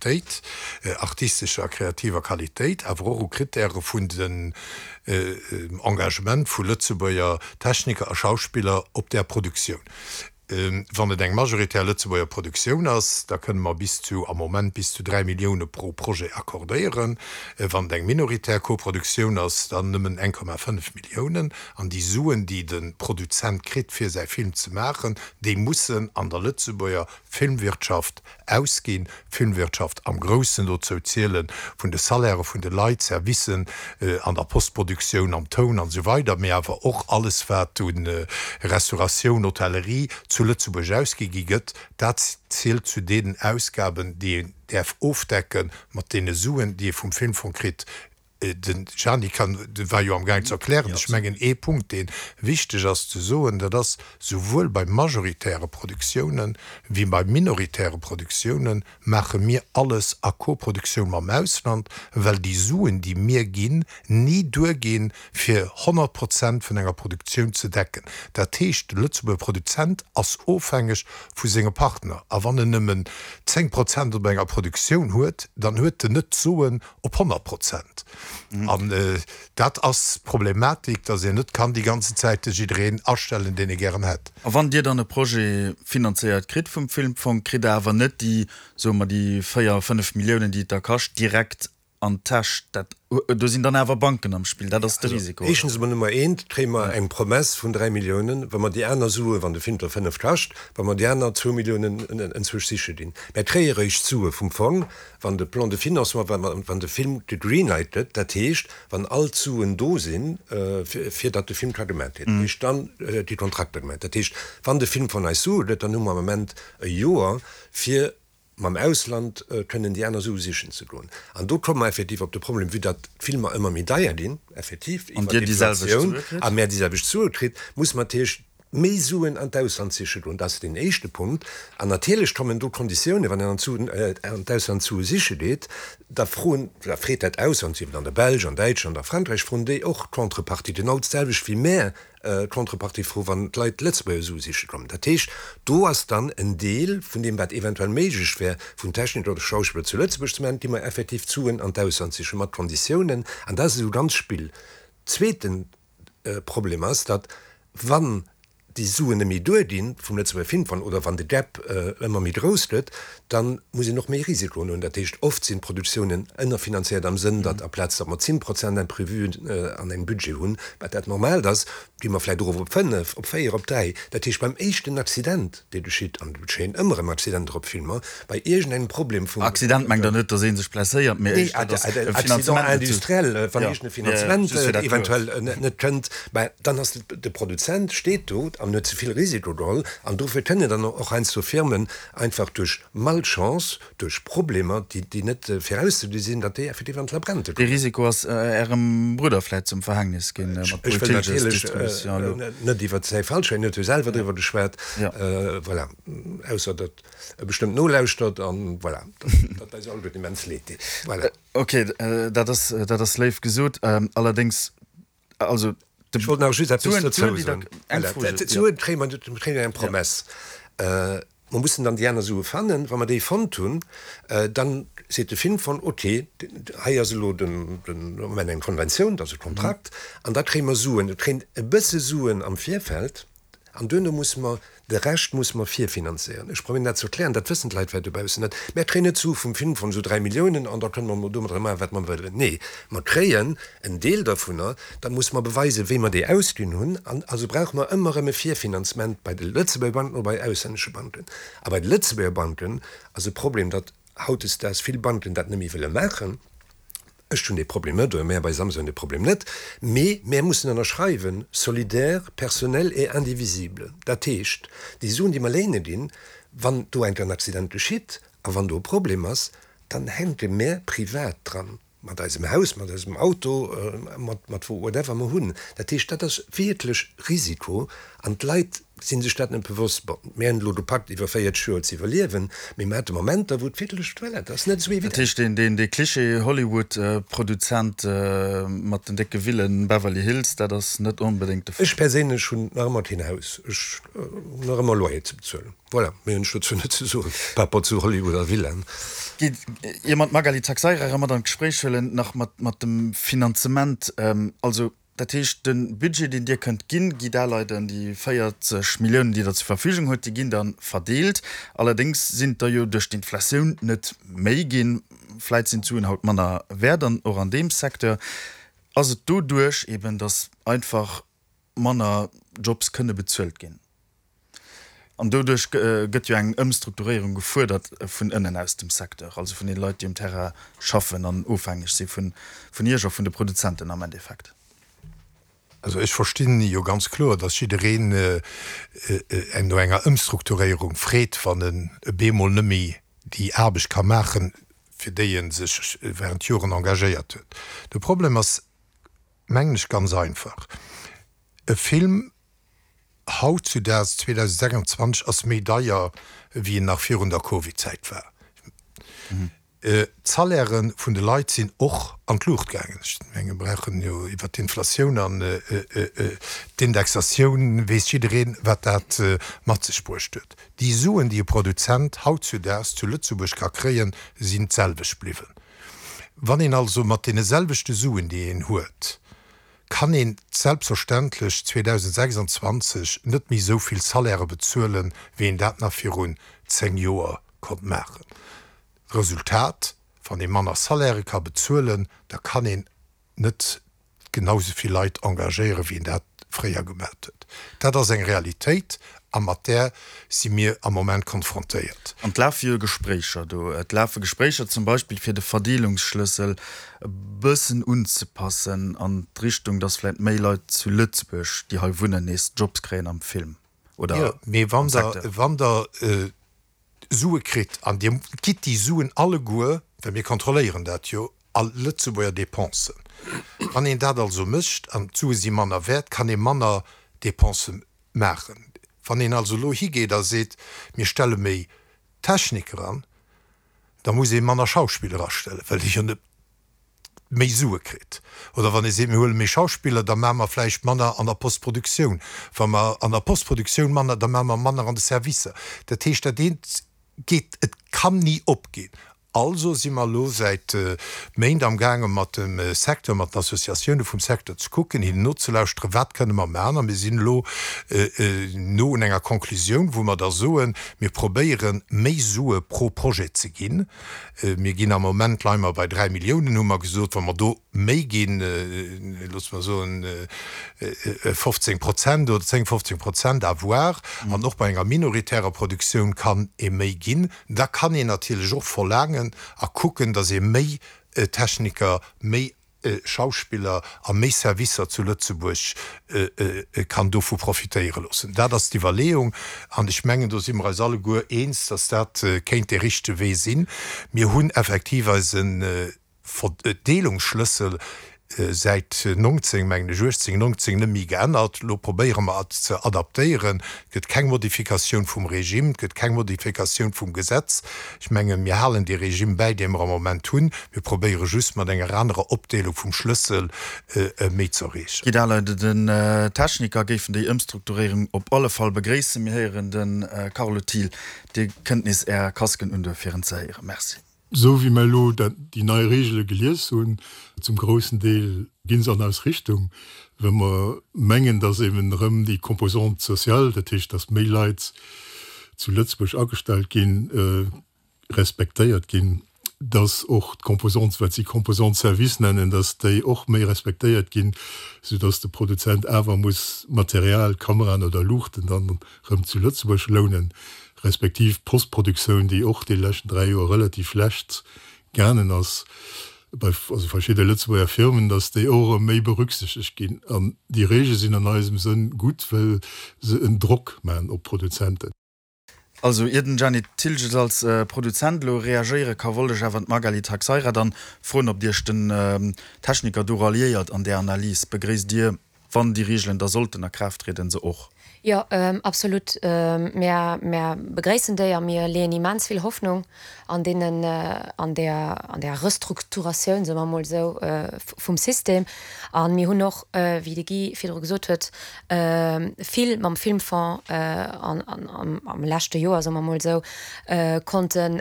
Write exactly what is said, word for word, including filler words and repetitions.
Qualitéit, artistescher a kreativer Qualitéit, awer och u Krittäre vun den Engagement vu Lëtzebuerger Techniker a Schauspiller op där Produktioun. Wann et eng majoritär Lëtzebuerger Produktioun ass, da kënne mer bis zu, am Moment bis zu dräi Millioune pro Projet accordéieren. Wann et eng minoritär Koproduktioun ass, dann nëmmen eng Komma fënnef Milliounen. An déi Suen, déi de Produzent kritt, fir säi Film ze maachen, déi mussen an der Lëtzebuerger Filmwirtschaft ausginn, Filmwirtschaft am Groussen, dozou ziele vun de Salairë vun de Leit, Servicen an der Postproduktioun, am Toun an esou weider, mee awer och alles wat u Restauratioun, Hotellerie zu Lëtzebuerg ausgi gi gëtt, dat zielt zu deenen Ausgaben, déi een däerf ofdecke mat deene Suen, déi ee vum Filmfong kritt. Den Gianni kann, war jo amgaang ze erklären. Ech mengen, ee Punkt, dee wichteg ass ze soen, dat ass, Souwuel bei majoritäre Produktiounen wéi bei minoritäre Produktiounen maache mir alles a Koproduktioun mam Ausland, well déi Suen, déi mir ginn, ni duerginn, fir honnert Prozent vun enger Produktioun ze decken. Dat heescht, de Lëtzebuerger Produzent ass ofhängeg vu senge Partner. A wann en nëmmen zéng Prozent op enger Produktioun huet, dann huet en net d'Soen op honnert Prozent. An dat ass d'Problematik, dass een net kann déi ganzen Zäite jiddereen astellen, deen ee gären hätt. A wann Dir dann e Projet finanzéiert kritt vum Filmfong, kritt Der awer net déi, soe mer, déi véier, fënnef Milliounen, déi et da kascht, direkt an d'Täsch. Dat, do sinn dann awer Banken am Spill, dat ass de Risiko, oder? Éischtens emol, Nummer eent, kréie mer eng Promesse vun dräi Milliounen, wa mer déi aner Sue, wann de Film der fënnef kascht, wa mer déi aner zwou Milliounen enzwousch siche ginn. Mer kréie eréischt d'Sue vum Fong, wann de Plan de financement, wann de Film gegreenlight gëtt, dat heescht, wann all d'Suen do sinn, fir datt de Film ka gemaat ginn. Dat heescht, dann gi Kontrakter gemaat. Dat heescht, wann de Film vun eis Sue gëtt, dann hu mer am Ament e Joer, fir mam Ausland kënnen déi aner Sue sichen ze goen. An do komme mer effektiv op de Problem, vue datt d'Filmer ëmmer méi deier ginn, effektiv iwwer d'Inflatioun, a mär déi selwecht Sue kritt, muss mer natierlech méi Suen an d'Ausland siche goen. Dat ass deen éischte Punkt. An natierlech kommen do Konditiounen, wann een an d'Ausland Sue siche geet, da froen, da freet dat Ausland, sief et an der Belsch, an Däitschland, a Frankräich, froen déi och Contrepartie, genau d'selwecht wéi mär Contrepartie froen, wann d'Leit Lëtzebuerger Sue siche kommen. Dat heescht, do ass dann en Deel vun deem, wat eventuell méiglech wär, vun Techniker oder Schauspiller zu Lëtzebuerg ze maachen, gi mer effektiv d'Suen an d'Ausland sichen, mat Konditiounen. An dat ass esou ganz Spill. Zweete Problem ass, datt wann déi Suen net méi duerginn vum Lëtzebuerger Filmfong oder wann de Gap ëmmer méi grouss gëtt, da muss een och méi Risikoen huelen. Dat heescht, oft sinn d'Produktiounen ënnerfinanzéiert am Sënn, datt aplaz datt mer zéng Prozent Imprévuen an engem Budget hunn, wat dat Normaalt ass, gi mer vläicht erof op fënnef, op véier, op dräi. Dat heescht, beim éischten Accident, dee geschitt, an et geschéien ëmmer erëm Accidenter op Filmer, bei iergendengem Problem vum. Accident mengt Der net, datt ee sech blesséiert, mee éischter, datt e Finanzement net. Accident industriel, wann iergend e Finanzement eventuell net kënnt, mä dann ass de Produzent steet do an huet ze vill Risiko geholl. An dofir kënnen dann och heiansdo Firmen einfach duerch Malchance, duerch Problemer, déi net virauszegesi sinn, datt déi effektiv an d'Labrente kommen. Dee Risiko ass Ärem Brudder vläicht zum Verhängnis ginn mat Ech wëll natierlech net iwwert säi Fall schwätzen, en huet jo selwer driwwer geschwat. Voilà, ausser datt e bestëmmt nolauschtert an voilà, datt eis alleguerten immens leed deet. Voilà. Ok, dat ass, dat ass léif gesot. Allerdéngs, also Ech wollt nach just eppes dozou soen. D'Suen kréie mer, mir kréien eng Promesse. Mer mussen dann déi aner Sue fannen. Wa mer déi fonnt hunn, dann seet de Filmfong, ok, hei ass elo den Moment eng Konventioun, dat ass e Kontrakt, an da kréie mer Suen. Et kréien e bësse Suen am Virfeld an duerno musse mer De Rescht musse mer virfinanzéieren. Ech probéieren dat ze erklären, dat wëssen d'Leit vläicht dobaussen net. Mär kréien net d'Sue vum Filmfong, esou dräi Milliounen, an da kënne mer domadder maachen, wat mer wëllen. Nee, mer kréien en Deel dervunner, da musse mer beweisen, wéi mer déi ausginn hunn. An also brauche mer ëmmer erëm e Virfinanzement bei de Lëtzebuerger Banken oder bei auslännesche Banken. A bei de Lëtzebuerger Banken ass e Problem, datt hautdesdaags vill Banken dat net méi wëlle maachen. Ech hunn dee Problem net, oder mär bei Samsa hunn dee Problem net, mee mär mussen ënnerschreiwen, solidaire, personnel et indivisible. Dat heescht, déi Suen, déi mer léine ginn, wann do enk en Accident geschitt a wann do e Problem ass, dann hänke mär privat dran, mat eisem Haus, mat eisem Auto, mat mat whatever mer hunn. Dat heescht, dat ass wierklech Risiko an d'Leit si sech dat net bewosst. Bon, mir hunn elo de Pakt iwwer véierzeg Joer ze iwwerliewen, mee mir hate Momenter, wou et wierklech, voilà, dat ass net esou Dat evident. heescht, deen, deen, dee Klischee Hollywood-Produzent mat den décke Villen, Beverly Hills, dat ass net onbedéngt de Fall. Ech perséinlech hunn nach ëmmer keen Haus. Ech hunn nach ëmmer Loyer ze bezuelen. Voilà, méi hunn ech dozou net ze soen par rapport zu Hollywood a Villaen. Gitt, ier mer d'Magali Taxeira erëm mat an d'Gespréich huelen, nach mat, mat dem Finanzement. Also, dat heescht, de Budget, deen Dir kënnt ginn, Guy Daleiden, déi véierzeg Milliounen, déi Der zur Verfügung hutt, déi ginn da verdeelt. Allerdéngs sinn et der jo duerch d'Inflatioun net méi ginn. Vläit sinn d'Suen haut manner wäert an och an deem Secteur. Ass et doduerch eben, datt einfach manner Jobs kënne bezuelt ginn? An doduerch gëtt jo eng Ëmstrukturéierung gefuerdert vun ënnen aus dem Secteur, also vun deene Leit, déi um Terrain schaffen an ofhängeg si vun Iech a vun de Produzenten am Endeffekt. Also ech verstinn jo ganz kloer, datt jiddereen no enger Ëmstrukturéierung freet, wann en bemol net méi déi Aarbecht ka maachen, fir déi e sech während Joren engagéiert huet. De Problem ass, mengen ech, ganz einfach, E Film hautzudaags, zweedausendsechsundzwanzeg, ass méi deier, wéi en nach virun der Covid-Zäit war. D'Salairë vun de Leit sinn och an d'Luucht gaangen. Ech menge mir brauchen jo iwwert d'Inflatioun an d'Indexatioun weess jiddereen, wat dat mat sech bruecht huet. Déi Suen, déi e Produzent hautzudaags zu Lëtzebuerg ka kréien, sinn d'selwecht bliwwen. Wann een also mat deene selwechte Suen, déi een huet, kann een selbstverständlech zweedausendsechsundzwanzeg net méi esou vill Salairë bezuelen, wéi een dat nach virun zéng Joer konnt maachen. Resultat, Wann ee manner Salairë ka bezuelen, da kann een net genau esou vill Leit engagéieren, wéi een dat fréier gemat huet. Dat ass eng Realitéit a mat där si mir am Moment konfrontéiert. An et lafe jo Gespréicher do. Et lafe Gespréicher zum Beispill, fir de Verdeelungsschlëssel e bëssen unzepassen an d'Richtung, dass vläicht méi Leit zu Lëtzebuerg, déi hei wunnen, nees Jobs kréien am Film oder Jo, mee am wann Der, Secteur. wann Der Sue kritt, an Dir gitt déi Suen alleguer, well mir kontrolléieren dat jo, a Lëtzebuerger Dépensen. Wann een dat also mécht an d'Sue si manner wäert, kann ee manner Dépensë maachen. Wann een also elo higeet a seet, mir stelle méi Techniker an, da muss ee manner Schauspiller astellen, well ee jo net méi Sue kritt. Oder wann ee seet, mir huele méi Schauspiller, da maache mer vläicht manner an der Postproduktioun. Wa mer an der Postproduktioun manner, da maache mer manner an de Servicer. Dat heescht, dat eent geet, et kann ni opginn. Also si mer elo säit Méint amgaange mat dem Secteur, mat den Associatioune vum Secteur ze kucken, hinnen nozelauschteren, wat kënne mer maachen. A mir sinn elo no un enger Konklusioun, wou mer da soen, mir probéieren, méi Sue pro Projet ze ginn. Mir ginn am Moment, leie mer bei dräi Milliounen, hu mer gesot. Wa mer do méi ginn, loosse mer soen fofzéng Prozent oder zéng, fofzéng Prozent, à voir, an och bei enger minoritärer Produktioun kann ee méi ginn, da kann een natierlech och verlaangen a kucken, datt ee méi Techniker, méi Schauspiller a méi Servicer zu Lëtzebuerg kann dovu profitéiere loossen. Dat ass d'Iwwerleeung an ech mengen, do si mer eis alleguer eens, datt dat kéint dee richtege Wee sinn. Mir hunn effektiv eise Verdeelungsschlëssel säit nonzéng, mengen ech, uechtzéng, nonzéng net méi geännert. Elo probéiere mer et ze adaptéieren. Et gëtt keng Modifikatioun vum Regime, et gëtt keng Modifikatioun vum Gesetz. Ech mengen, mir halen dee Regime bäi, dee mer am Moment hunn. Mir probéiere just mat enger anerer Opdeelung vum Schlëssel méi ze erreechen. Guy Dahleide, Den Techniker géifen déi Ëmstrukturéierung op alle Fall begréissen. Mir héieren de Carlo Thiel. Dir kënnt nees Är Casquen undoen, fir en ze héieren. Merci. Esou wéi mer elo déi nei Regele gelies hunn, zum groussen Deel gi se an eis Richtung, well mer mengen, dass eben erëm déi Composante sociale, dat heescht, dass méi Leit zu Lëtzebuerg agestallt ginn, respektéiert ginn, dass och d'Composante, wat si Composante service nennen, dass déi och méi respektéiert ginn, soudass de Produzent awer muss Material, Kameraen oder Luuchten dann erëm zu Lëtzebuerg lounen. Respektiv d'Postproduktioun, déi och déi leschten dräi Joer relativ schlecht gaangen ass bei also verschidde Lëtzebuerger Firmen, datt déi och erëm méi berücksichtegt ginn. An déi Reegele sinn an eisem Sënn gutt, well se en Drock maachen op d'Produzenten. Also ier den Gianni Thiltges als Produzent elo reagéiere ka, wollt ech awer d'Magali Taxeira dann froen, ob Iech den Techniker do ralliéiert an där Analys. Begréisst Dir, wann déi Reegelen da sollten a Kraaft trieden, se och? Jo, absolut. Mär, mär begréissen déi a mir leeën immens vill Hoffnung an deenen, an där, an där Restrukturatioun, soe mer emol esou, vum System. A mir hunn och, wéi de Guy virdru gesot huet, vill mam Filmfonds an, an am leschte Joer, soe mer emol esou, konnten